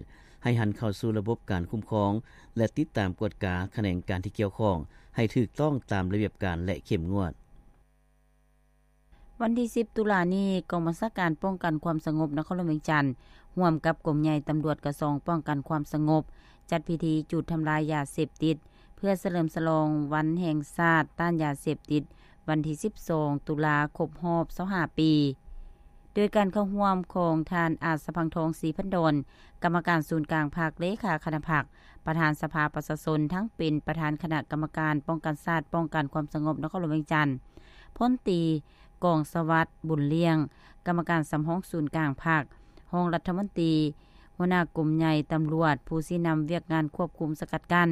ດ ໃຫ້ຫັນເຂົ້າສູ່ລະບົບການຄຸ້ມຄອງ ແລະ ຕິດຕາມກວດກາຂະແໜງການທີ່ກ່ຽວຂ້ອງ ໃຫ້ຖືກຕ້ອງຕາມລະບຽບການ ແລະ ເຂັ້ມງວດ. ວັນທີສິບ ຕຸລານີ້, ກອງບັນຊາການປ້ອງກັນຄວາມສະຫງົບນະຄອນຫຼວງວຽງຈັນ ຮ່ວມກັບກົມໃຫຍ່ຕຳຫຼວດກະຊວງປ້ອງກັນຄວາມສະຫງົບ ຈັດພິທີຈູດທຳລາຍຢາເສບຕິດ ເພື່ອສະເຫຼີມສະຫຼອງວັນແຫ່ງຊາດຕ້ານຢາເສບຕິດ ວັນທີສິບສອງ ຕຸລາ ຄົບຮອບຊາວຫ້າປີ ໂດຍການເຂົ້າຮ່ວມຂອງທ່ານ ອາດສະພັງທອງ ສີພັນດອນ ກຳມະການສູນກາງພັກ, ເລຂາຄະນະພັກ, ປະທານສະພາປະຊາຊົນ, ທັງເປັນປະທານຄະນະກຳມະການປ້ອງກັນຊາດ ປ້ອງກັນຄວາມສະຫງົບນະຄອນຫຼວງວຽງຈັນ, ພົນຕີ ກອງສະຫວັດ ບຸນລ້ຽງ ກຳມະການສຳຮອງສູນກາງພັກ, ຮອງລັດຖະມົນຕີ, ຫົວໜ້າກົມໃຫຍ່ຕຳຫຼວດ, ຜູ້ຊີ້ນຳວຽກງານຄວບຄຸມສະກັດກັ້ນ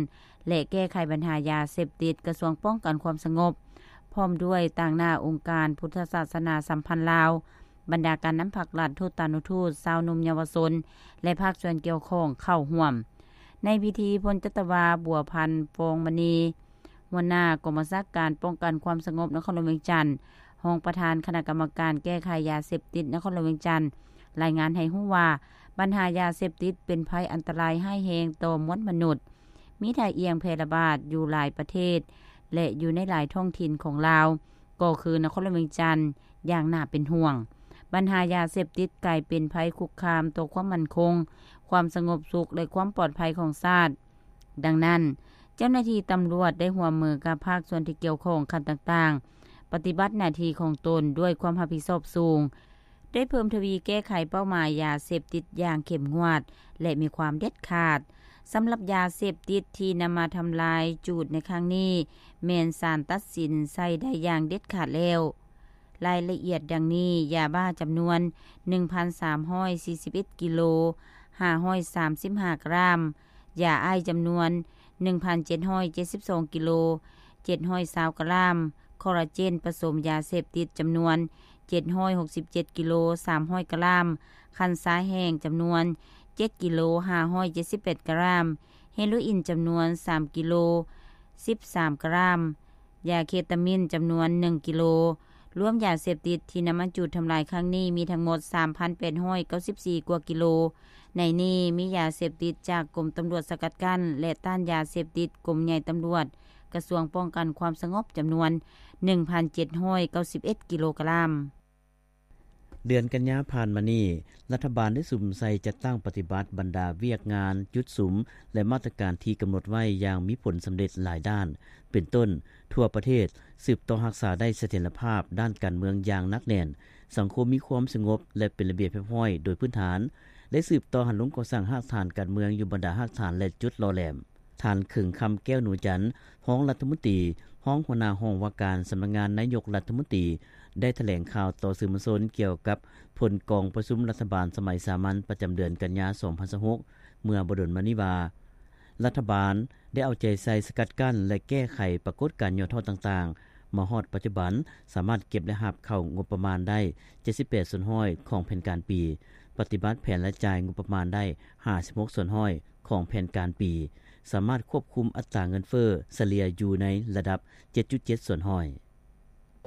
ແລະ ແກ້ໄຂບັນຫາຢາເສບຕິດ ກະຊວງປ້ອງກັນຄວາມສະຫງົບ, ພ້ອມດ້ວຍຕາງໜ້າອົງການພຸດທະສາສະໜາສຳພັນລາວ, ບັນດາການນຳພັກລັດ, ທູຕານຸທູດ, ຊາວໜຸ່ມເຍົາວະຊົນ ແລະ ພາກສ່ວນກ່ຽວຂ້ອງເຂົ້າຮ່ວມ. ໃນພິທີ, ພົນຈັດຕະວາ ບົວພັນ ຟອງມະນີ ຫົວໜ້າກອງບັນຊາການປ້ອງກັນຄວາມສະຫງົບນະຄອນຫຼວງວຽງຈັນ, ຮອງປະທານຄະນະກຳມະການແກ້ໄຂຢາເສບຕິດນະຄອນຫຼວງວຽງຈັນ ລາຍງານໃຫ້ຮູ້ວ່າ, ບັນຫາຢາເສບຕິດເປັນໄພອັນຕະລາຍຮ້າຍແຮງຕໍ່ມວນມະນຸດ, ມີທ່າອ່ຽງແຜ່ລະບາດຢູ່ຫຼາຍປະເທດ ແລະ ຢູ່ໃນຫຼາຍທ້ອງຖິ່ນຂອງລາວ, ກໍຄືນະຄອນຫຼວງວຽງຈັນ ຢ່າງໜ້າເປັນຫ່ວງ. ບັນຫາຢາເສບຕິດກາຍເປັນໄພຄຸກຄາມຕໍ່ຄວາມໝັ້ນຄົງ, ຄວາມສະຫງົບສຸກ ແລະ ຄວາມປອດໄພຂອງຊາດ. ດັ່ງນັ້ນ, ເຈົ້າໜ້າທີ່ຕຳຫຼວດໄດ້ຮ່ວມມືກັບພາກສ່ວນທີ່ກ່ຽວຂ້ອງຂັ້ນຕ່າງໆ, ປະຕິບັດໜ້າທີ່ຂອງຕົນດ້ວຍຄວາມຮັບຜິດຊອບສູງ, ໄດ້ເພີ່ມທະວີແກ້ໄຂເປົ້າໝາຍຢາເສບຕິດຢ່າງເຂັ້ມງວດ ແລະ ມີຄວາມເດັດຂາດ. ສຳລັບຢາເສບຕິດທີ່ນຳມາທຳລາຍຈູດໃນຄັ້ງນີ້ ແມ່ນສານຕັດສິນໃຊ້ໄດ້ຢ່າງເດັດຂາດແລ້ວ. ລາຍລະອຽດດັ່ງນີ້, ຢາບ້າຈຳນວນໜຶ່ງພັນສາມຮ້ອຍສີ່ສິບເອັດກິໂລ ຫ້າຮ້ອຍສາມສິບຫ້າກຣາມ, ຢາໄອສ໌ຈຳນວນໜຶ່ງພັນເຈັດຮ້ອຍເຈັດສິບສອງກິໂລ ເຈັດຮ້ອຍຊາວກຣາມ, ຄໍລາເຈນປະສົມຢາເສບຕິດຈຳນວນເຈັດຮ້ອຍຫົກສິບເຈັດກິໂລ ສາມຮ້ອຍກຣາມ, ຄັນຊາແຫ້ງຈຳນວນເຈັດກິໂລ ຫ້າຮ້ອຍເຈັດສິບແປດກຣາມ, ເຮໂຣອິນຈຳນວນສາມກິໂລ ສິບສາມກຣາມ, ຢາເຄຕາມິນຈຳນວນໜຶ່ງກິໂລ. ລວມຢາເສບຕິດທີ່ນຳມາຈູດທຳລາຍຄັ້ງນີ້ມີທັງໝົດສາມພັນແປດຮ້ອຍເກົ້າສິບສີ່ກວ່າກິໂລ. ໃນນີ້ມີຢາເສບຕິດຈາກກົມຕຳຫຼວດສະກັດກັ້ນ ແລະ ຕ້ານຢາເສບຕິດ ກົມໃຫຍ່ຕຳຫຼວດ ກະຊວງປ້ອງກັນຄວາມສະຫງົບ ຈຳນວນໜຶ່ງພັນເຈັດຮ້ອຍເກົ້າສິບເອັດກິໂລກຣາມ. ເດືອນກັນຍາຜ່ານມານີ້, ລັດຖະບານໄດ້ສຸມໃສ່ຈັດຕັ້ງປະຕິບັດບັນດາວຽກງານ, ຈຸດສຸມ ແລະ ມາດຕະການທີ່ກຳນົດໄວ້ຢ່າງມີຜົນສຳເລັດຫຼາຍດ້ານ, ເປັນຕົ້ນ, ທົ່ວປະເທດສືບຕໍ່ຮັກສາໄດ້ສະຖຽນລະພາບດ້ານການເມືອງຢ່າງໜັກແໜ້ນ, ສັງຄົມມີຄວາມສະຫງົບ ແລະ ເປັນລະບຽບຮຽບຮ້ອຍໂດຍພື້ນຖານ, ໄດ້ສືບຕໍ່ຫັນລົງກໍ່ສ້າງຮາກຖານການເມືອງຢູ່ບັນດາຮາກຖານ ແລະ ຈຸດຫຼໍ່ແຫຼມ. ທ່ານ ເຂີງຄຳ ແກ້ວໜູຈັນ, ຮອງລັດຖະມົນຕີ, ຮອງຫົວໜ້າຫ້ອງວ່າການສຳນັກງານນາຍົກລັດຖະມົນຕີ, ໄດ້ຖະແຫຼງຂ່າວຕໍ່ສື່ມວນຊົນກ່ຽວກັບຜົນກອງປະຊຸມລັດຖະບານສະໄໝສາມັນປະຈຳເດືອນກັນຍາ ສອງພັນຊາວຫົກ ເມື່ອບໍ່ດົນມານີ້ວ່າ, ລັດຖະບານໄດ້ເອົາໃຈໃສ່ສະກັດກັ້ນ ແລະ ແກ້ໄຂປາກົດການຫຍໍ້ທໍ້ຕ່າງໆ. ມາຮອດປັດຈຸບັນ, ສາມາດເກັບລາຍຮັບເຂົ້າງົບປະມານໄດ້ ເຈັດສິບແປດສ່ວນຮ້ອຍຂອງແຜນການປີ, ປະຕິບັດແຜນລາຍຈ່າຍງົບປະມານໄດ້ ຫ້າສິບຫົກສ່ວນຮ້ອຍຂອງແຜນການປີ, ສາມາດຄວບຄຸມອັດຕາເງິນເຟີ້ສະເລ່ຍຢູ່ໃນລະດັບ ເຈັດຈຸດເຈັດສ່ວນຮ້ອຍ.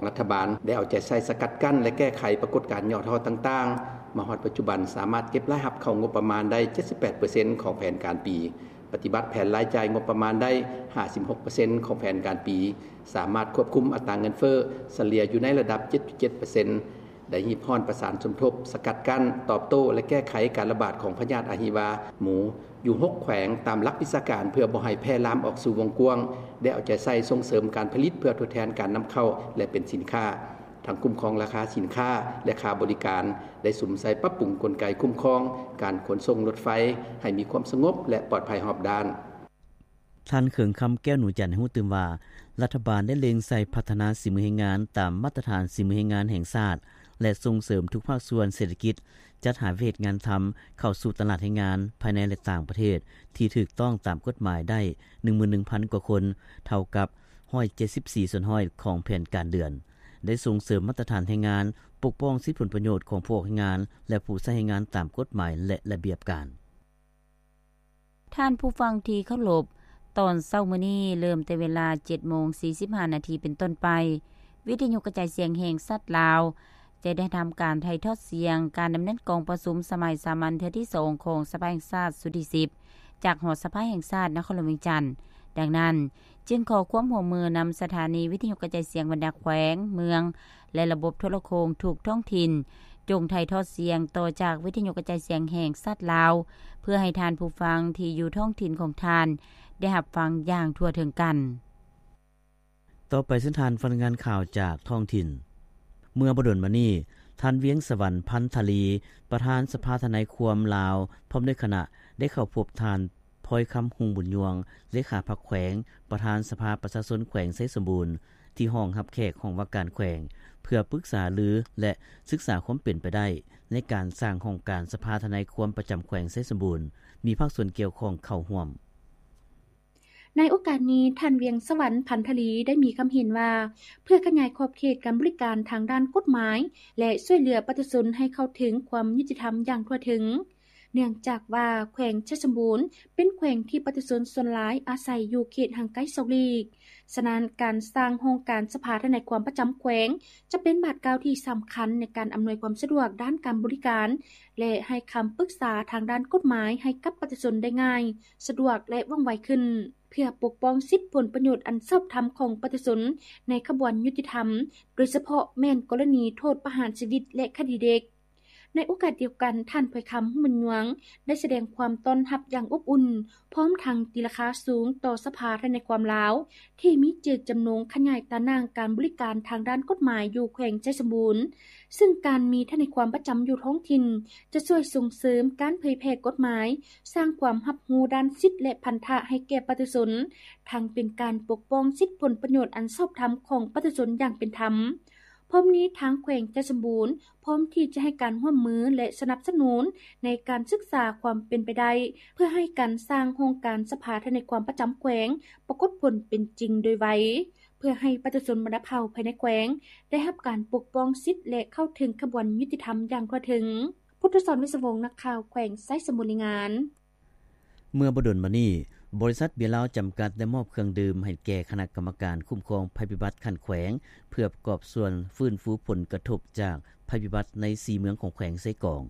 ລັດຖະບານໄດ້ເອົາໃຈໃສ່ສະກັດກັ້ນ ແລະ ແກ້ໄຂປາກົດການຫຍໍ້ທໍ້ຕ່າງໆ. ມາຮອດປັດຈຸບັນ, ສາມາດເກັບລາຍຮັບເຂົ້າງົບປະມານໄດ້ ເຈັດສິບແປດເປີເຊັນຂອງແຜນການປີ, ປະຕິບັດແຜນລາຍຈ່າຍງົບປະມານໄດ້ ຫ້າສິບຫົກເປີເຊັນຂອງແຜນການປີ, ສາມາດຄວບຄຸມອັດຕາເງິນເຟີ້ສະເລ່ຍຢູ່ໃນລະດັບ ເຈັດຈຸດເຈັດເປີເຊັນ. ໄດ້ຮີບຮ້ອນປະສານສົມທົບ, ສະກັດກັ້ນ, ຕອບໂຕ້ ແລະ ແກ້ໄຂການລະບາດຂອງພະຍາດອະຫິວາໝູຢູ່ຫົກແຂວງຕາມຫຼັກວິຊາການ ເພື່ອບໍ່ໃຫ້ແຜ່ລາມອອກສູ່ວົງກວ້າງ, ໄດ້ເອົາໃຈໃສ່ສົ່ງເສີມການຜະລິດເພື່ອທົດແທນການນຳເຂົ້າ ແລະ ເປັນສິນຄ້າ, ທັງຄຸ້ມຄອງລາຄາສິນຄ້າ ແລະ ຄ່າບໍລິການ, ໄດ້ສຸມໃສ່ປັບປຸງກົນໄກຄຸ້ມຄອງການຂົນສົ່ງລົດໄຟໃຫ້ມີຄວາມສະຫງົບ ແລະ ປອດໄພຮອບດ້ານ. ທ່ານ ເຂີງຄຳ ແກ້ວໜູຈັນ ໃຫ້ຮູ້ຕື່ມວ່າ, ລັດຖະບານໄດ້ເລັງໃສ່ພັດທະນາສີມືແຮງງານຕາມມາດຕະຖານສີມືແຮງງານແຫ່ງຊາດ ແລະ ສົ່ງເສີມທຸກພາກສ່ວນເສດຖະກິດ, ຈັດຫາວຽກເຮັດງານທຳເຂົ້າສູ່ຕະຫຼາດແຮງງານພາຍໃນ ແລະ ຕ່າງປະເທດ ທີ່ຖືກຕ້ອງຕາມກົດໝາຍໄດ້ ໜຶ່ງໝື່ນໜຶ່ງພັນກວ່າຄົນ, ເທົ່າກັບ ຮ້ອຍເຈັດສິບສີ່ສ່ວນຮ້ອຍຂອງແຜນການເດືອນ, ໄດ້ສົ່ງເສີມມາດຕະຖານແຮງງານ, ປົກປ້ອງສິດຜົນປະໂຫຍດຂອງຜູ້ອອກແຮງງານ ແລະ ຜູ້ໃຊ້ແຮງງານຕາມກົດໝາຍ ແລະ ລະບຽບການ. ທ່ານຜູ້ຟັງທີ່ເຄົາລົບ, ຕອນເຊົ້າມື້ນີ້ເລີ່ມແຕ່ເວລາ ເຈັດໂມງສີ່ສິບຫ້ານາທີເປັນຕົ້ນໄປ, ວິທະຍຸກະຈາຍສຽງແຫ່ງຊາດລາວ ຈະໄດ້ທຳການຖ່າຍທອດສຽງການດຳເນີນກອງປະຊຸມສະໄໝສາມັນເທື່ອທີສອງຂອງສະພາແຫ່ງຊາດຊຸດທີສິບ ຈາກຫໍສະພາແຫ່ງຊາດນະຄອນຫຼວງວຽງຈັນ. ດັ່ງນັ້ນ, ຈຶ່ງຂໍຄວາມຮ່ວມມືນຳສະຖານີວິທະຍຸກະຈາຍສຽງບັນດາແຂວງ, ເມືອງ ແລະ ລະບົບໂທລະໂຄ່ງທຸກທ້ອງຖິ່ນ ຈົ່ງຖ່າຍທອດສຽງຕໍ່ຈາກວິທະຍຸກະຈາຍສຽງແຫ່ງຊາດລາວ ເພື່ອໃຫ້ທ່ານຜູ້ຟັງທີ່ຢູ່ທ້ອງຖິ່ນຂອງທ່ານໄດ້ຮັບຟັງຢ່າງທົ່ວເຖິງກັນ. ຕໍ່ໄປເຊີນທ່ານຟັງລາຍງານຂ່າວຈາກທ້ອງຖິ່ນ. ເມື່ອບໍ່ດົນມານີ້, ທ່ານ ວຽງສະຫວັນ ພັນທະລີ ປະທານສະພາທະນາຍຄວາມລາວ ພ້ອມດ້ວຍຄະນະ ໄດ້ເຂົ້າພົບທ່ານ ພອຍຄຳ ຮຸ່ງບຸນຍວງ ເລຂາພັກແຂວງ ປະທານສະພາປະຊາຊົນແຂວງໄຊສົມບູນ ທີ່ຫ້ອງຮັບແຂກຫ້ອງວ່າການແຂວງ ເພື່ອປຶກສາລື ແລະ ສຶກສາຄວາມເປັນໄປໄດ້ໃນການສ້າງຫ້ອງການສະພາທະນາຍຄວາມປະຈຳແຂວງໄຊສົມບູນ ມີພາກສ່ວນກ່ຽວຂ້ອງເຂົ້າຮ່ວມ. ໃນໂອກາດນີ້, ທ່ານ ວຽງສະຫວັນ ພັນທະລີ ໄດ້ມີຄຳເຫັນວ່າ ເພື່ອຂະຫຍາຍຂອບເຂດການບໍລິການທາງດ້ານກົດໝາຍ ແລະ ຊ່ວຍເຫຼືອປະຊາຊົນໃຫ້ເຂົ້າເຖິງຄວາມຍຸຕິທຳຢ່າງທົ່ວເຖິງ, ເນື່ອງຈາກວ່າແຂວງໄຊສົມບູນເປັນແຂວງທີ່ປະຊາຊົນສ່ວນຫຼາຍອາໄສຢູ່ເຂດຫ່າງໄກສອກຫຼີກ. ສະນັ້ນ, ການສ້າງຫ້ອງການສະພາທະນາຍຄວາມປະຈຳແຂວງ ຈະເປັນບາດກ້າວທີ່ສຳຄັນໃນການອຳນວຍຄວາມສະດວກດ້ານການບໍລິການ ແລະ ໃຫ້ຄຳປຶກສາທາງດ້ານກົດໝາຍໃຫ້ກັບປະຊາຊົນໄດ້ງ່າຍ, ສະດວກ ແລະ ວ່ອງໄວຂຶ້ນ, ເພື່ອປົກປ້ອງສິດຜົນປະໂຫຍດອັນຊອບທຳຂອງປະຊາຊົນໃນຂະບວນຍຸຕິທຳ, ໂດຍສະເພາະແມ່ນກໍລະນີໂທດປະຫານຊີວິດ ແລະ ຄະດີເດັກ. ໃນໂອກາດດຽວກັນ, ທ່ານ ພອຍຄຳ ຮຸ່ງບຸນຍວງ ໄດ້ສະແດງຄວາມຕ້ອນຮັບຢ່າງອົບອຸ່ນ, ພ້ອມທັງຕີລາຄາສູງຕໍ່ສະພາທະນາຍຄວາມລາວ ທີ່ມີເຈດຈຳນົງຂະຫຍາຍຕາໜ່າງການບໍລິການທາງດ້ານກົດໝາຍຢູ່ແຂວງໄຊສົມບູນ, ຊຶ່ງການມີທະນາຍຄວາມປະຈຳຢູ່ທ້ອງຖິ່ນ ຈະຊ່ວຍສົ່ງເສີມການເຜີຍແຜ່ກົດໝາຍ, ສ້າງຄວາມຮັບຮູ້ດ້ານສິດ ແລະ ພັນທະໃຫ້ແກ່ປະຊາຊົນ, ທັງເປັນການປົກປ້ອງສິດຜົນປະໂຫຍດອັນຊອບທຳຂອງປະຊາຊົນຢ່າງເປັນທຳ. ພ້ອມນີ້, ທາງແຂວງໄຊສົມບູນ ພ້ອມທີ່ຈະໃຫ້ການຮ່ວມມື ແລະ ສະໜັບສະໜູນໃນການສຶກສາຄວາມເປັນໄປໄດ້ ເພື່ອໃຫ້ການສ້າງຫ້ອງການສະພາທະນາຍຄວາມປະຈຳແຂວງປາກົດຜົນເປັນຈິງໂດຍໄວ, ເພື່ອໃຫ້ປະຊາຊົນບັນດາເຜົ່າພາຍໃນແຂວງໄດ້ຮັບການປົກປ້ອງສິດ ແລະ ເຂົ້າເຖິງຂະບວນຍຸຕິທຳຢ່າງທົ່ວເຖິງ. ພຸດທະສອນ ວິສະວົງ ນັກຂ່າວແຂວງໄຊສົມບູນ ລາຍງານ. ເມື່ອບໍ່ດົນມານີ້, ບໍລິສັດເບຍລາວຈຳກັດໄດ້ມອບເຄື່ອງດື່ມໃຫ້ແກ່ຄະນະກຳມະການຄຸ້ມຄອງໄພພິບັດຂັ້ນແຂວງ ເພື່ອປະກອບສ່ວນຟື້ນຟູຜົນກະທົບຈາກໄພພິບັດໃນສີ່ເມືອງຂອງແຂວງເຊກອງ.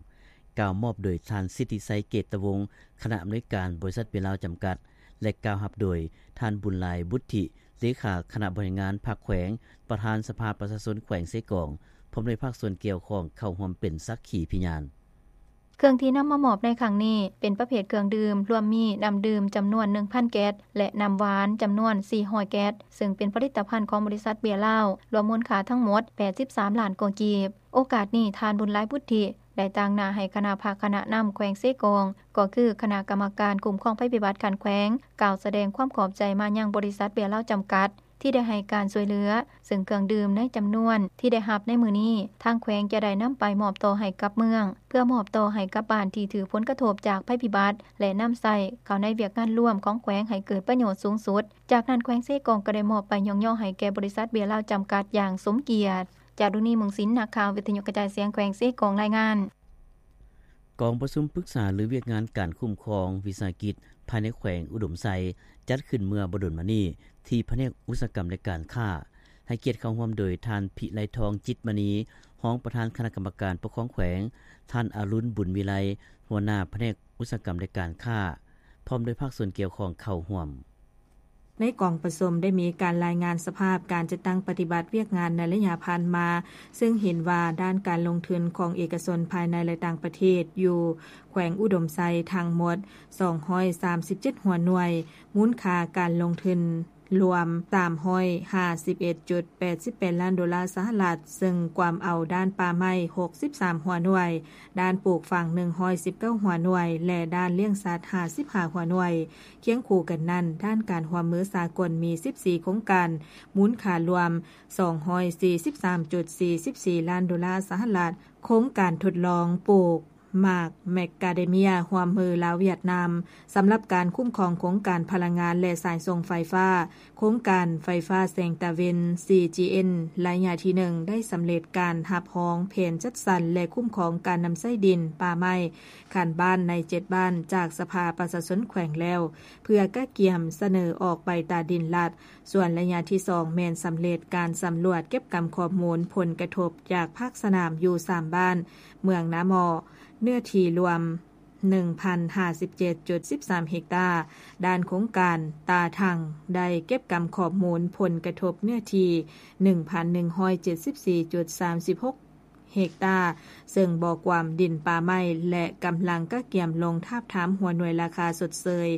ກ່າວມອບໂດຍທ່ານ ສິດທິໄຊ ເກດຕະວົງ ຄະນະອຳນວຍການບໍລິສັດເບຍລາວຈຳກັດ ແລະ ກ່າວຮັບໂດຍທ່ານ ບຸນຫຼາຍ ບຸດທິ ເລຂາຄະນະບໍລິຫານງານພັກແຂວງ, ປະທານສະພາປະຊາຊົນແຂວງເຊກອງ ພ້ອມດ້ວຍພາກສ່ວນກ່ຽວຂ້ອງເຂົ້າຮ່ວມເປັນສັກຂີພະຍານ. ເຄື່ອງທີ່ນຳມາມອບໃນຄັ້ງນີ້ ເປັນປະເພດເຄື່ອງດື່ມ ລວມມີນ້ຳດື່ມຈຳນວນໜຶ່ງພັນແກັດ ແລະ ນ້ຳຫວານຈຳນວນສີ່ຮ້ອຍແກັດ, ເຊິ່ງເປັນຜະລິດຕະພັນຂອງບໍລິສັດເບຍລາວ ລວມມູນຄ່າທັງໝົດແປດສິບສາມລ້ານກວ່າກີບ. ໂອກາດນີ້ ທ່ານ ບຸນຫຼາຍ ບຸດທິ ໄດ້ຕາງໜ້າໃຫ້ຄະນະພັກຄະນະນຳແຂວງເຊກອງ ກໍຄືຄະນະກຳມະການຄຸ້ມຄອງໄພພິບັດຂັ້ນແຂວງ ກ່າວສະແດງຄວາມຂອບໃຈມາຍັງບໍລິສັດເບຍລາວຈຳກັດ ທີ່ໄດ້ໃຫ້ການຊ່ວຍເຫຼືອ, ເຊິ່ງເຄື່ອງດື່ມໃນຈຳນວນທີ່ໄດ້ຮັບໃນມື້ນີ້ ທາງແຂວງຈະໄດ້ນຳໄປມອບຕໍ່ໃຫ້ກັບເມືອງ ເພື່ອມອບຕໍ່ໃຫ້ກັບບ້ານທີ່ຖືກຜົນກະທົບຈາກໄພພິບັດ ແລະ ນຳໃຊ້ເຂົ້າໃນວຽກງານລວມຂອງແຂວງໃຫ້ເກີດປະໂຫຍດສູງສຸດ. ຈາກນັ້ນ ແຂວງເຊກອງກໍໄດ້ມອບໃບຍ້ອງຍໍໃຫ້ແກ່ບໍລິສັດເບຍລາວຈຳກັດຢ່າງສົມກຽດ. ຈາລຸນີ ເມືອງສິນ ນັກຂ່າວວິທະຍຸກະຈາຍສຽງແຂວງເຊກອງ ລາຍງານ. ກອງປະຊຸມປຶກສາລືວຽກງານການຄຸ້ມຄອງວິສາຫະກິດພາຍໃນແຂວງອຸດົມໄຊ ຈັດຂຶ້ນເມື່ອບໍ່ດົນມານີ້ ທີ່ພະແນກອຸດສາຫະກຳ ແລະ ການຄ້າ, ໃຫ້ກຽດເຂົ້າຮ່ວມໂດຍທ່ານ ພິໄລທອງ ຈິດມະນີ ຮອງປະທານຄະນະກຳມະການປົກຄອງແຂວງ, ທ່ານ ອະລຸນ ບຸນວິໄລ ຫົວໜ້າພະແນກອຸດສາຫະກຳ ແລະ ການຄ້າ, ພ້ອມດ້ວຍພາກສ່ວນກ່ຽວຂ້ອງເຂົ້າຮ່ວມ. ໃນກອງປະຊຸມໄດ້ມີການລາຍງານສະພາບການຈັດຕັ້ງປະຕິບັດວຽກງານໃນໄລຍະຜ່ານມາ, ເຊິ່ງເຫັນວ່າດ້ານການລົງທຶນຂອງເອກະຊົນພາຍໃນ ແລະ ຕ່າງປະເທດຢູ່ແຂວງອຸດົມໄຊທັງໝົດສອງຮ້ອຍສາມສິບເຈັດຫົວໜ່ວຍ, ມູນຄ່າການລົງທຶນລວມສາມຮ້ອຍຫ້າສິບເອັດຈຸດແປດສິບແປດລ້ານໂດລາສະຫະລັດ, ເຊິ່ງກວມເອົາດ້ານປ່າໄມ້ຫົກສິບສາມຫົວໜ່ວຍ, ດ້ານປູກຝັງໜຶ່ງຮ້ອຍສິບເກົ້າຫົວໜ່ວຍ ແລະ ດ້ານລ້ຽງສັດຫ້າສິບຫ້າຫົວໜ່ວຍ. ຄຽງຄູ່ກັນນັ້ນ, ດ້ານການຮ່ວມມືສາກົນມີສິບສີ່ໂຄງການ, ມູນຄ່າລວມສອງຮ້ອຍສີ່ສິບສາມຈຸດສີ່ສິບສີ່ລ້ານໂດລາສະຫະລັດ, ໂຄງການທົດລອງປູກ ມາກແມັກກາເດເມຍ ຮ່ວມມືລາວຫວຽດນາມ ສຳລັບການຄຸ້ມຄອງໂຄງການພະລັງງານ ແລະ ສາຍສົ່ງໄຟຟ້າ, ໂຄງການໄຟຟ້າແສງຕາເວັນ ຊີຈີເອັນ ໄລຍະທີໜຶ່ງ ໄດ້ສຳເລັດການຮັບຮອງແຜນຈັດສັນ ແລະ ຄຸ້ມຄອງການນຳໃຊ້ດິນປ່າໄມ້ຂັ້ນບ້ານໃນເຈັດບ້ານ ຈາກສະພາປະຊາຊົນແຂວງແລ້ວ ເພື່ອກະກຽມສະເໜີອອກໃບຕາດິນລັດ. ສ່ວນໄລຍະທີສອງ ແມ່ນສຳເລັດການສຳຫຼວດເກັບກຳຂໍ້ມູນຜົນກະທົບຈາກພາກສະໜາມຢູ່ສາມບ້ານ ເມືອງນາໝໍ້, ເນື້ອທີ່ລວມ ໜຶ່ງພັນຫ້າສິບເຈັດຈຸດສິບສາມເຮັກຕາ. ດ້ານໂຄງການຕາຖັງ ໄດ້ເກັບກຳຂໍ້ມູນຜົນກະທົບເນື້ອທີ່ ໜຶ່ງພັນໜຶ່ງຮ້ອຍເຈັດສິບສີ່ຈຸດສາມສິບຫົກເຮັກຕາ, ເຊິ່ງບໍ່ກວມດິນປ່າໄມ້ ແລະ ກຳລັງກະກຽມລົງທາບທາມຫົວໜ່ວຍລາຄາຊົດເຊີຍ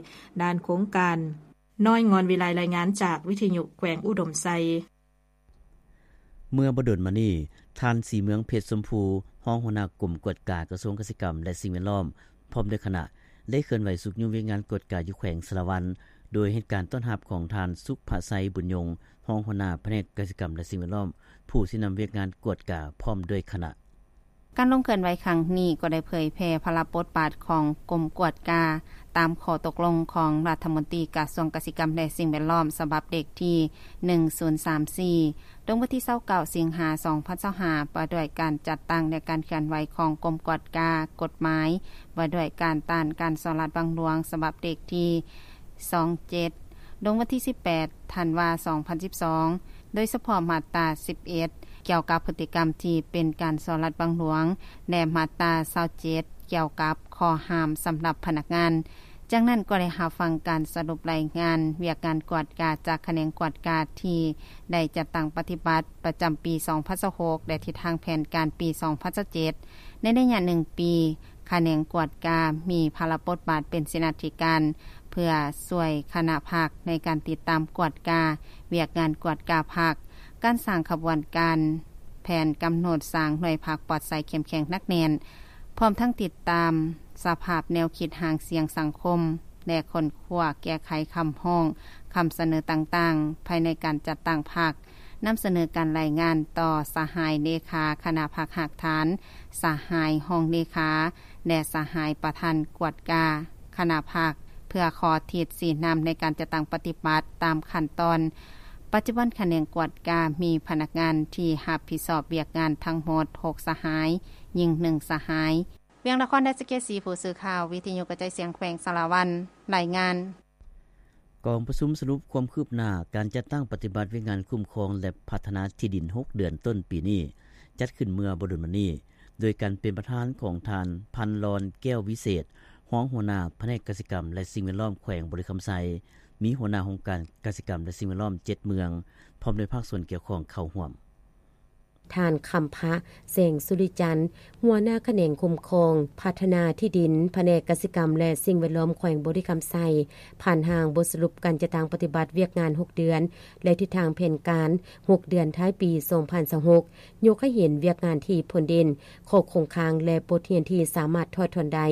ດ້ານໂຄງການ. ນ້ອຍ ງອນວິໄລ ລາຍງານຈາກວິທະຍຸແຂວງອຸດົມໄຊ. ເມື່ອບໍ່ດົນມານີ້, ທ່ານ ສີເມືອງ ເພັດຊົມພູ ຮອງຫົວໜ້າກົມກວດກາກະຊວງກະສິກຳ ແລະ ສິ່ງແວດລ້ອມ ພ້ອມດ້ວຍຄະນະ ໄດ້ເຄື່ອນໄຫວຊຸກຍູ້ວຽກງານກວດກາຢູ່ແຂວງສາລະວັນ ໂດຍເຮັດການຕ້ອນຮັບຂອງທ່ານ ສຸກພະໄຊ ບຸນຍົງ ຮອງຫົວໜ້າພະແນກກະສິກຳ ແລະ ສິ່ງແວດລ້ອມ ຜູ້ຊີ້ນຳວຽກງານກວດກາ ພ້ອມດ້ວຍຄະນະ. ການລົງເຄື່ອນໄຫວຄັ້ງນີ້ກໍໄດ້ເຜີຍແຜ່ພາລະບົດບາດຂອງກົມກວດກາ ຕາມຂໍ້ຕົກລົງຂອງລັດຖະມົນຕີກະຊວງກະສິກຳ ແລະ ສິ່ງແວດລ້ອມ ສະບັບເລກທີໜຶ່ງສູນສາມສີ່ ລົງວັນທີຊາວເກົ້າ ສິງຫາ ສອງພັນຊາວຫ້າ ວ່າດ້ວຍການຈັດຕັ້ງ ແລະ ການເຄື່ອນໄຫວຂອງກົມກວດກາ, ກົດໝາຍວ່າດ້ວຍການຕ້ານການສໍ້ລາດບັງຫຼວງ ສະບັບເລກທີສອງເຈັດ ລົງວັນທີສິບແປດ ທັນວາ ສອງພັນສິບສອງ ໂດຍສະເພາະມາດຕາສິບເອັດ ກ່ຽວກັບພຶດຕິກຳທີ່ເປັນການສໍ້ລາດບັງຫຼວງ ແລະ ມາດຕາຊາວເຈັດ ກ່ຽວກັບຂໍ້ຫ້າມສຳລັບພະນັກງານ. ຈາກນັ້ນກໍໄດ້ຮັບຟັງການສະຫຼຸບລາຍງານວຽກງານກວດກາຈາກຂະແໜງກວດກາທີ່ໄດ້ຈັດຕັ້ງປະຕິບັດປະຈຳປີສອງພັນຊາວຫົກ ແລະ ທິດທາງແຜນການປີສອງພັນຊາວເຈັດ ໃນໄລຍະໜຶ່ງປີ. ຂະແໜງກວດກາມີພາລະບົດບາດເປັນເສນາທິການ ເພື່ອຊ່ວຍຄະນະພັກໃນການຕິດຕາມກວດກາວຽກງານກວດກາພັກ, ການສ້າງຂະບວນການ, ແຜນກຳນົດສ້າງໜ່ວຍພັກປອດໃສເຂັ້ມແຂງໜັກແໜ້ນ, ພ້ອມທັງຕິດຕາມສະພາບແນວຄິດຫາງສຽງສັງຄົມ ແລະ ຄົ້ນຄວ້າແກ້ໄຂຄຳຮ້ອງ, ຄຳສະເໜີຕ່າງໆ ພາຍໃນການຈັດຕັ້ງພັກ, ນຳສະເໜີການລາຍງານຕໍ່ສະຫາຍເລຂາຄະນະພັກຮາກຖານ, ສະຫາຍຮອງເລຂາ ແລະ ສະຫາຍປະທານກວດກາຄະນະພັກ ເພື່ອຂໍທິດຊີ້ນຳໃນການຈັດຕັ້ງປະຕິບັດຕາມຂັ້ນຕອນ. ປັດຈຸບັນຂະແໜງກວດກາມີພະນັກງານທີ່ຮັບຜິດຊອບວຽກງານທັງໝົດຫົກສະຫາຍ, ຍິງໜຶ່ງສະຫາຍ. ວຽງນະຄອນ ໄດ້ສະເກດສີ ຜູ້ສື່ຂ່າວວິທະຍຸກະຈາຍສຽງແຂວງສາລະວັນ ລາຍງານ. ກອງປະຊຸມສະຫຼຸບຄວາມຄືບໜ້າການຈັດຕັ້ງປະຕິບັດວຽກງານຄຸ້ມຄອງ ແລະ ພັດທະນາທີ່ດິນຫົກເດືອນຕົ້ນປີນີ້ ຈັດຂຶ້ນເມື່ອບໍ່ດົນມານີ້ ໂດຍການເປັນປະທານຂອງທ່ານ ພັນລອນ ແກ້ວວິເສດ ຮອງຫົວໜ້າພະແນກກະສິກຳ ແລະ ສິ່ງແວດລ້ອມແຂວງບໍລິຄຳໄຊ, ມີຫົວໜ້າຫ້ອງການກະສິກຳ ແລະ ສິ່ງແວດລ້ອມເຈັດເມືອງ ພ້ອມດ້ວຍພາກສ່ວນກ່ຽວຂ້ອງເຂົ້າຮ່ວມ. ທ່ານ ຄຳພະ ແສງສຸລິຈັນ ຫົວໜ້າຂະແໜງຄຸ້ມຄອງພັດທະນາທີ່ດິນ ພະແນກກະສິກຳ ແລະ ສິ່ງແວດລ້ອມແຂວງບໍລິຄຳໄຊ ຜ່ານຮ່າງບົດສະຫຼຸບການຈັດຕັ້ງປະຕິບັດວຽກງານຫົກເດືອນ ແລະ ທິດທາງແຜນການຫົກເດືອນທ້າຍປີສອງພັນຊາວຫົກ ຍົກໃຫ້ເຫັນວຽກງານທີ່ພົ້ນເດັ່ນ, ຂໍ້ຄົງຄ້າງ ແລະ ບົດຮຽນທີ່ສາມາດຖອດຖອນໄດ້,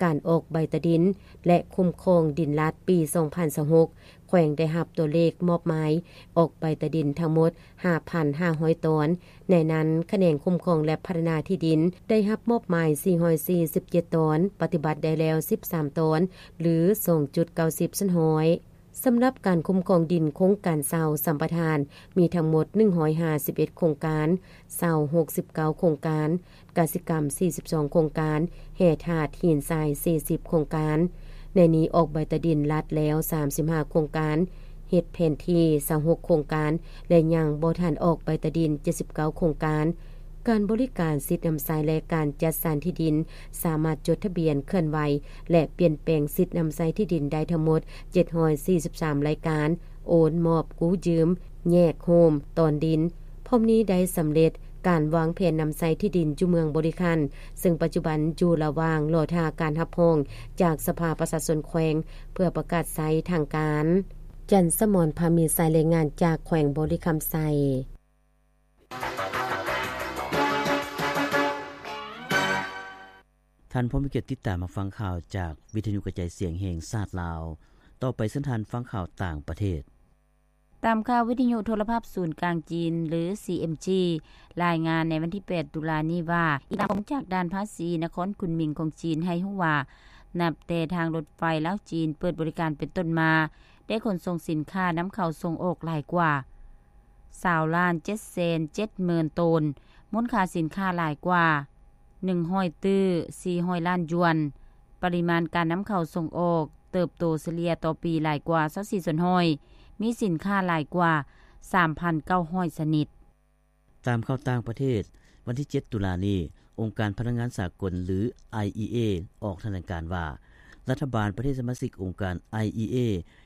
ການອອກໃບຕາດິນ ແລະ ຄຸ້ມຄອງດິນລັດປີສອງພັນຊາວຫົກ ແຂວງໄດ້ຮັບຕົວເລກມອບໝາຍອອກໃບຕາດິນທັງໝົດຫ້າພັນຫ້າຮ້ອຍຕອນ, ໃນນັ້ນຂະແໜງຄຸ້ມຄອງ ແລະ ພັດທະນາທີ່ດິນໄດ້ຮັບມອບໝາຍສີ່ຮ້ອຍສີ່ສິບເຈັດຕອນ, ປະຕິບັດໄດ້ແລ້ວສິບສາມຕອນ ຫຼື ສອງຈຸດເກົ້າສິບສ່ວນຮ້ອຍ. ສຳລັບການຄຸ້ມຄອງດິນໂຄງການເຊົ່າສຳປະທານ ມີທັງໝົດໜຶ່ງຮ້ອຍຫ້າສິບເອັດໂຄງການ, ເຊົ່າຫົກສິບເກົ້າໂຄງການ, ກະສິກຳສີ່ສິບສອງໂຄງການ, ແຮ່ທາດຫີນຊາຍສີ່ສິບໂຄງການ. ໃນນີ້ອອກໃບຕາດິນລັດແລ້ວສາມສິບຫ້າໂຄງການ, ເຮັດແຜນທີ່ຊາວຫົກໂຄງການ ແລະ ຍັງບໍ່ທັນອອກໃບຕາດິນເຈັດສິບເກົ້າໂຄງການ. ການບໍລິການສິດນຳໃຊ້ ແລະ ການຈັດສັນທີ່ດິນ ສາມາດຈົດທະບຽນ, ເຄື່ອນໄຫວ ແລະ ປ່ຽນແປງສິດນຳໃຊ້ທີ່ດິນໄດ້ທັງໝົດເຈັດຮ້ອຍສີ່ສິບສາມລາຍການ, ໂອນ, ມອບ, ກູ້ຢືມ, ແຍກໂຮມ, ຕອນດິນ. ພ້ອມນີ້ໄດ້ສຳເລັດການວາງແຜນນຳໃຊ້ທີ່ດິນຢູ່ເມືອງບໍລິຄັນ, ເຊິ່ງປັດຈຸບັນຢູ່ລະຫວ່າງລໍຖ້າການຮັບຮອງຈາກສະພາປະຊາຊົນແຂວງ ເພື່ອປະກາດໃຊ້ທາງການ. ຈັນສະໝອນ ພາມີໄຊ, ລາຍງານຈາກແຂວງບໍລິຄຳໄຊ. ທ່ານຜູ້ມີກຽດຕິດຕາມຮັບຟັງຂ່າວຈາກວິທະຍຸກະຈາຍສຽງແຫ່ງຊາດລາວ. ຕໍ່ໄປເຊີນທ່ານຟັງຂ່າວຕ່າງປະເທດ. ຕາມຂ່າວວິທະຍຸໂທລະພາບສູນກາງຈີນ ຫຼື ຊີເອັມຈີ ລາຍງານໃນວັນທີແປດ ຕຸລານີ້ວ່າ, ອີງຕາມຂໍ້ມູນຈາກດ່ານພາສີນະຄອນຄຸນໝິງຂອງຈີນໃຫ້ຮູ້ວ່າ, ນັບແຕ່ທາງລົດໄຟລາວຈີນເປີດບໍລິການເປັນຕົ້ນມາ, ໄດ້ຂົນສົ່ງສິນຄ້ານຳເຂົ້າສົ່ງອອກຫຼາຍກວ່າ ຊາວລ້ານເຈັດແສນເຈັດໝື່ນໂຕນ, ມູນຄ່າສິນຄ້າຫຼາຍກວ່າ ໜຶ່ງຮ້ອຍຕື້ສີ່ຮ້ອຍລ້ານຢວນ, ປະລິມານການນຳເຂົ້າສົ່ງອອກເຕີບໂຕສະເລ່ຍຕໍ່ປີຫຼາຍກວ່າຊາວສີ່ສ່ວນຮ້ອຍ, ມີສິນຄ້າຫຼາຍກວ່າສາມພັນເກົ້າຮ້ອຍຊະນິດ. ຕາມຂ່າວຕ່າງປະເທດ, ວັນທີເຈັດ ຕຸລານີ້, ອົງການພະລັງງານສາກົນ ຫຼື ໄອອີເອ ອອກຖະແຫຼງການວ່າ, ລັດຖະບານປະເທດສະມາຊິກອົງການ ໄອອີເອ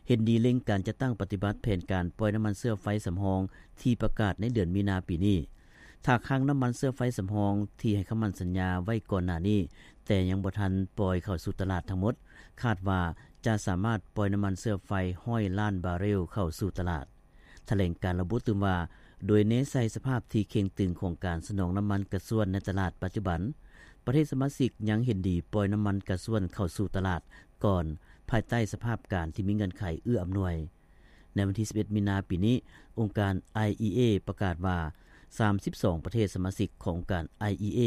ເຫັນດີເລັ່ງການຈັດຕັ້ງປະຕິບັດແຜນການປ່ອຍນ້ຳມັນເຊື້ອໄຟສຳຮອງທີ່ປະກາດໃນເດືອນມີນາປີນີ້. ຖ້າຄັງນ້ຳມັນເຊື້ອໄຟສຳຮອງທີ່ໃຫ້ຄຳໝັ້ນສັນຍາໄວ້ກ່ອນໜ້ານີ້, ແຕ່ຍັງບໍ່ທັນປ່ອຍເຂົ້າສູ່ຕະຫຼາດທັງໝົດ, ຄາດວ່າຈະສາມາດປ່ອຍນ້ຳມັນເຊື້ອໄຟຮ້ອຍລ້ານບາເຣວເຂົ້າສູ່ຕະຫຼາດ. ຖະແຫຼງການລະບຸຕື່ມວ່າ, ໂດຍແນໃສ່ສະພາບທີ່ເຄັ່ງຕຶງຂອງການສະໜອງນ້ຳມັນກະຊວນໃນຕະຫຼາດປັດຈຸບັນ, ປະເທດສະມາຊິກຍັງເຫັນດີປ່ອຍນ້ຳມັນກະຊວນເຂົ້າສູ່ຕະຫຼາດກ່ອນ, ພາຍໃຕ້ສະພາບການທີ່ມີເງື່ອນໄຂເອື້ອອຳນວຍ. ໃນວັນທີສິບເອັດ ມີນາປີນີ້, ອົງການ ໄອອີເອ ປະກາດວ່າ ສາມສິບສອງປະເທດສະມາຊິກຂອງອົງການ ໄອອີເອ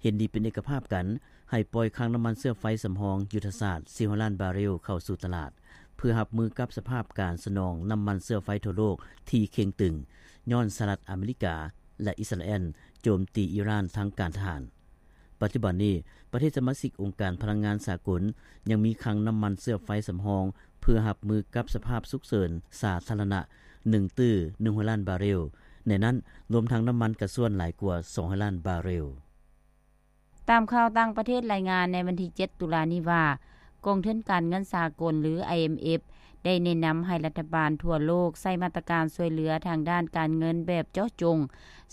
ເຫັນດີເປັນເອກະພາບກັນ ໃຫ້ປ່ອຍຄັງນ້ຳມັນເຊື້ອໄຟສຳຮອງຍຸດທະສາດສີ່ຮ້ອຍລ້ານບາເຣວເຂົ້າສູ່ຕະຫຼາດ, ເພື່ອຮັບມືກັບສະພາບການສະໜອງນ້ຳມັນເຊື້ອໄຟທົ່ວໂລກທີ່ເຄັ່ງຕຶງ, ຍ້ອນສະຫະລັດອາເມລິກາ ແລະ ອິດສະຣາແອນໂຈມຕີອີຣານທາງການທະຫານ. ປັດຈຸບັນນີ້, ປະເທດສະມາຊິກອົງການພະລັງງານສາກົນຍັງມີຄັງນ້ຳມັນເຊື້ອໄຟສຳຮອງ ເພື່ອຮັບມືກັບສະພາບສຸກເສີນສາທາລະນະ ໜຶ່ງຕື້ໜຶ່ງຮ້ອຍລ້ານບາເຣວ, ໃນນັ້ນລວມທັງນ້ຳມັນກະຊວນຫຼາຍກວ່າສອງຮ້ອຍລ້ານບາເຣວ. ຕາມຂ່າວຕ່າງປະເທດລາຍງານໃນວັນທີເຈັດ ຕຸລານີ້ວ່າ, ກອງທຶນການເງິນສາກົນ ຫຼື ໄອເອັມເອັຟ ໄດ້ແນະນຳໃຫ້ລັດຖະບານທົ່ວໂລກໃຊ້ມາດຕະການຊ່ວຍເຫຼືອທາງດ້ານການເງິນແບບເຈາະຈົງ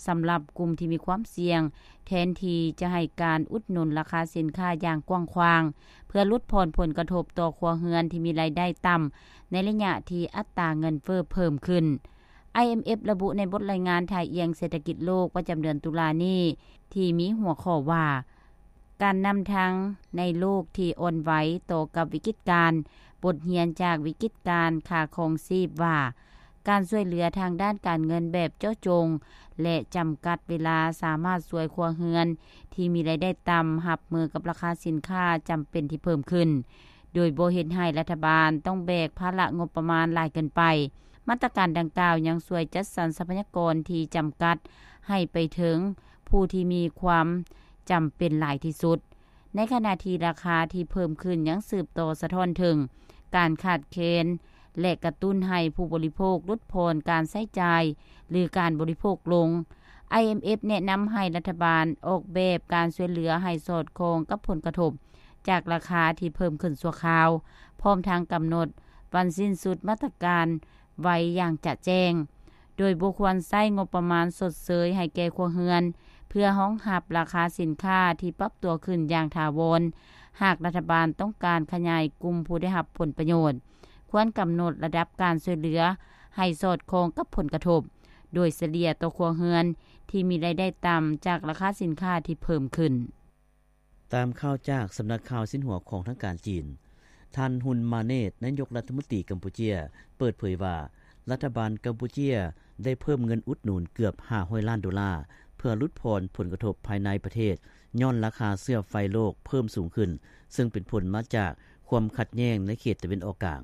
ສຳລັບກຸ່ມທີ່ມີຄວາມສ່ຽງ, ແທນທີ່ຈະໃຫ້ການອຸດໜູນລາຄາສິນຄ້າຢ່າງກວ້າງຂວາງ ເພື່ອຫຼຸດຜ່ອນຜົນກະທົບຕໍ່ຄົວເຮືອນທີ່ມີລາຍໄດ້ຕ່ຳ ໃນໄລຍະທີ່ອັດຕາເງິນເຟີ້ເພີ່ມຂຶ້ນ. ໄອເອັມເອັຟ ລະບຸໃນບົດລາຍງານທ່າອ່ຽງເສດຖະກິດໂລກປະຈຳເດືອນຕຸລານີ້ ທີ່ມີຫົວຂໍ້ວ່າ, ການນຳທາງໃນໂລກທີ່ອ່ອນໄຫວຕໍ່ກັບວິກິດການ, ບົດຮຽນຈາກວິກິດການຄ່າຄອງຊີບ ວ່າ ການຊ່ວຍເຫຼືອທາງດ້ານການເງິນແບບເຈາະຈົງ ແລະ ຈຳກັດເວລາ ສາມາດຊ່ວຍຄົວເຮືອນທີ່ມີລາຍໄດ້ຕ່ຳຮັບມືກັບລາຄາສິນຄ້າຈຳເປັນທີ່ເພີ່ມຂຶ້ນ, ໂດຍບໍ່ເຮັດໃຫ້ລັດຖະບານຕ້ອງແບກພາລະງົບປະມານຫຼາຍເກີນໄປ. ມາດຕະການດັ່ງກ່າວຍັງຊ່ວຍຈັດສັນຊັບພະຍາກອນທີ່ຈຳກັດໃຫ້ໄປເຖິງຜູ້ທີ່ມີຄວາມຈຳເປັນຫຼາຍທີ່ສຸດ, ໃນຂະນະທີ່ລາຄາທີ່ເພີ່ມຂຶ້ນຍັງສືບຕໍ່ສະທ້ອນເຖິງການຂາດແຄນ ແລະ ກະຕຸ້ນໃຫ້ຜູ້ບໍລິໂພກຫຼຸດຜ່ອນການໃຊ້ຈ່າຍ ຫຼື ການບໍລິໂພກລົງ. ໄອເອັມເອັຟ ແນະນຳໃຫ້ລັດຖະບານອອກແບບການຊ່ວຍເຫຼືອໃຫ້ສອດຄ່ອງກັບຜົນກະທົບຈາກລາຄາທີ່ເພີ່ມຂຶ້ນຊົ່ວຄາວ, ພ້ອມທັງກຳນົດວັນສິ້ນສຸດມາດຕະການ ໄວ້ຢ່າງຈະແຈ້ງ, ໂດຍບໍ່ຄວນໃຊ້ງົບປະມານຊົດເຊີຍໃຫ້ແກ່ຄົວເຮືອນ ເພື່ອຮອງຮັບລາຄາສິນຄ້າທີ່ປັບຕົວຂຶ້ນຢ່າງຖາວອນ. ຫາກລັດຖະບານຕ້ອງການຂະຫຍາຍກຸ່ມຜູ້ໄດ້ຮັບຜົນປະໂຫຍດ, ຄວນກຳນົດລະດັບການຊ່ວຍເຫຼືອໃຫ້ສອດຄ່ອງກັບຜົນກະທົບໂດຍສະເລ່ຍຕໍ່ຄົວເຮືອນທີ່ມີລາຍໄດ້ຕ່ຳຈາກລາຄາສິນຄ້າທີ່ເພີ່ມຂຶ້ນ. ຕາມຂ່າວຈາກສຳນັກຂ່າວຊິນຫົວຂອງທາງການຈີນ, ທ່ານ ຮຸນ ມາເນດ ນາຍົກລັດຖະມົນຕີກຳປູເຈຍ ເປີດເຜີຍວ່າ ລັດຖະບານກຳປູເຈຍໄດ້ເພີ່ມເງິນອຸດໜູນເກືອບຫ້າຮ້ອຍລ້ານໂດລາ ເພື່ອຫຼຸດຜ່ອນຜົນກະທົບພາຍໃນປະເທດ ຍ້ອນລາຄາເຊື້ອໄຟໂລກເພີ່ມສູງຂຶ້ນ, ເຊິ່ງເປັນຜົນມາຈາກຄວາມຂັດແຍ່ງໃນເຂດຕາເວັນອອກກາງ.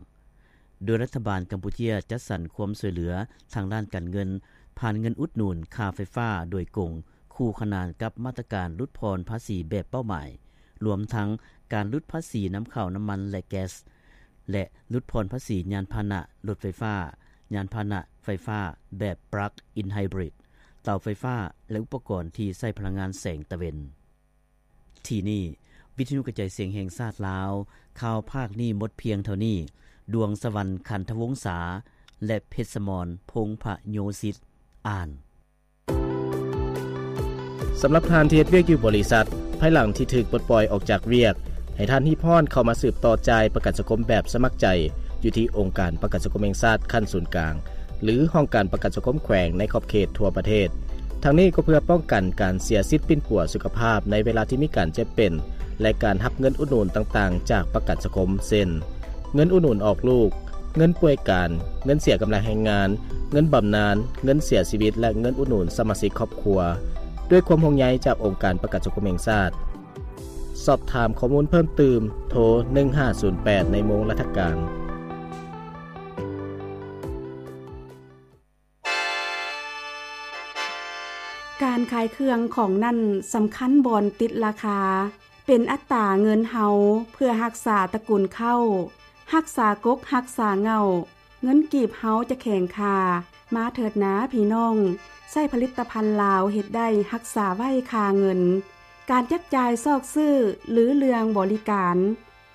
ໂດຍລັດຖະບານກຳປູເຈຍຈັດສັນຄວາມຊ່ວຍເຫຼືອທາງດ້ານການເງິນ ຜ່ານເງິນອຸດໜູນຄ່າໄຟຟ້າໂດຍກົງ ຄູ່ຂະໜານກັບມາດຕະການຫຼຸດຜ່ອນພາສີແບບເປົ້າໝາຍ, ລວມທັງການຫຼຸດພາສີນຳເຂົ້ານ້ຳມັນ ແລະ ແກັສ ແລະ ຫຼຸດຜ່ອນພາສີຍານພາຫະນະລົດໄຟຟ້າ, ຍານພາຫະນະໄຟຟ້າແບບ plug-in hybrid, ເຕົາໄຟຟ້າ ແລະ ອຸປະກອນທີ່ໃຊ້ພະລັງງານແສງຕາເວັນ. ທີ່ນີ້ ວິທະຍຸກະຈາຍສຽງແຫ່ງຊາດລາວ, ຂ່າວພາກນີ້ໝົດພຽງເທົ່ານີ້. ດວງສະຫວັນ ຂັນທະວົງສາ ແລະ ເພັດສະໝອນ ພົງພະໂຍສິດ ອ່ານ. ສຳລັບທ່ານທີ່ເຮັດວຽກຢູ່ບໍລິສັດ, ພາຍຫຼັງທີ່ຖືກປົດປ່ອຍອອກຈາກວຽກ, ໃຫ້ທ່ານຮີບຮ້ອນເຂົ້າມາສືບຕໍ່ຈ່າຍປະກັນສັງຄົມແບບສະໝັກໃຈ ຢູ່ທີ່ອົງການປະກັນສັງຄົມແຫ່ງຊາດຂັ້ນສູນກາງ ຫຼື ຫ້ອງການປະກັນສັງຄົມແຂວງໃນຂອບເຂດທົ່ວປະເທດ. ທັງນີ້ກໍເພື່ອປ້ອງກັນການເສຍສິດປິ່ນປົວສຸຂະພາບໃນເວລາທີ່ມີການເຈັບເປັນ ແລະ ການຮັບເງິນອຸດໜູນຕ່າງໆຈາກປະກັນສັງຄົມ ເຊັ່ນ ເງິນອຸດໜູນອອກລູກ, ເງິນປ່ວຍການ, ເງິນເສຍກຳລັງແຮງງານ, ເງິນບຳນານ, ເງິນເສຍຊີວິດ ແລະ ເງິນອຸດໜູນສະມາຊິກຄອບຄົວ ດ້ວຍຄວາມຫ່ວງໃຍຈາກອົງການປະກັນສັງຄົມແຫ່ງຊາດ. ສອບຖາມຂໍ້ມູນເພີ່ມຕື່ມ, ໂທ ໜຶ່ງຫ້າສູນແປດ ໃນໂມງລັດຖະການ. ການຂາຍເຄື່ອງຂອງນັ້ນສຳຄັນບ່ອນຕິດລາຄາ, ເປັນອັດຕາເງິນເຮົາເພື່ອຮັກສາຕະກຸນເຂົ້າ, ຮັກສາກົກຮັກສາເຫງົ້າ, ເງິນກີບເຮົາຈະແຂງຄ່າ. ມາເຖີດນາພີ່ນ້ອງ, ໃຊ້ຜະລິດຕະພັນລາວເຮັດໄດ້ຮັກສາໄວ້ຄ່າເງິນ. ການຈັບຈ່າຍຊອກຊື້ ຫຼື ເລື່ອງບໍລິການ,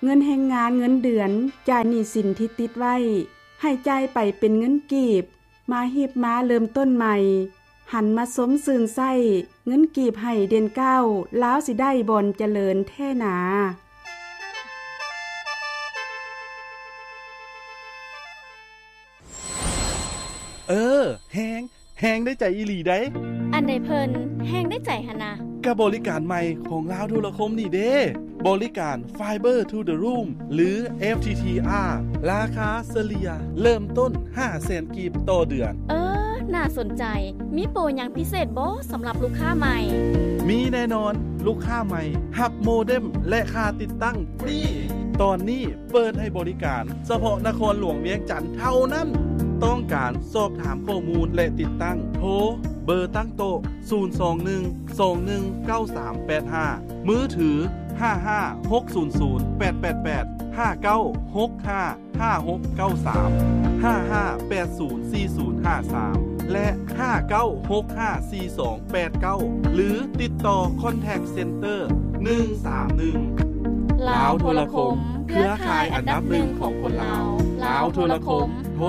ເງິນແຮງງານເງິນເດືອນ, ຈ່າຍໜີ້ສິນທີ່ຕິດໄວ້, ໃຫ້ຈ່າຍໄປເປັນເງິນກີບ. ມາຮີບມາເລີ່ມຕົ້ນໃໝ່, ຫັນມາຊົມຊື່ນໃຊ້, ເງິນກີບໃຫ້ເດັ່ນກ້າວ, ລາວຊິໄດ້ບ່ອນຈະເລີນແທ້ໜາ. ເອີ, ແຮງ, ແຮງໄດ້ໃຈອີ່ຫຼີໃດ໋. ອັນໃດເພິ່ນແຮງໄດ້ໃຈຫັ້ນນະ? ກະບໍລິການໃໝ່ຂອງລາວໂທລະຄົມນີ້ເດ້. ບໍລິການ Fiber to the Room ຫຼື FTTR ລາຄາສະເລ່ຍເລີ່ມຕົ້ນຫ້າແສນກີບຕໍ່ເດືອນ. ເອີ, ໜ້າສົນໃຈ. ມີໂປຫຍັງພິເສດບໍ່ສຳລັບລູກຄ້າໃໝ່? ມີແນ່ນອນ, ລູກຄ້າໃໝ່ຮັບໂມເດັມ ແລະ ຄ່າຕິດຕັ້ງຟຣີ. ຕອນນີ້ເປີດໃຫ້ບໍລິການສະເພາະນະຄອນຫຼວງວຽງຈັນເທົ່ານັ້ນ. ຕ້ອງການສອບຖາມຂໍ້ມູນ ແລະ ຕິດຕັ້ງ, ໂທເບີຕັ້ງໂຕະ ສູນສອງໜຶ່ງ ສອງໜຶ່ງ ເກົ້າສາມແປດຫ້າ, ມືຖື ຫ້າຫ້າຫົກສູນສູນແປດແປດແປດ, ຫ້າເກົ້າຫົກຫ້າຫ້າຫົກເກົ້າສາມ, ຫ້າຫ້າແປດສູນສີ່ສູນຫ້າສາມ ແລະ ຫ້າເກົ້າຫົກຫ້າສີ່ສອງແປດເກົ້າ ຫຼື ຕິດຕໍ່ Contact Center ໜຶ່ງສາມໜຶ່ງ. ລາວໂທລະຄົມ, ເຄືອຂ່າຍອັນດັບໜຶ່ງຂອງຄົນລາວ. ລາວໂທລະຄົມ, ໂທ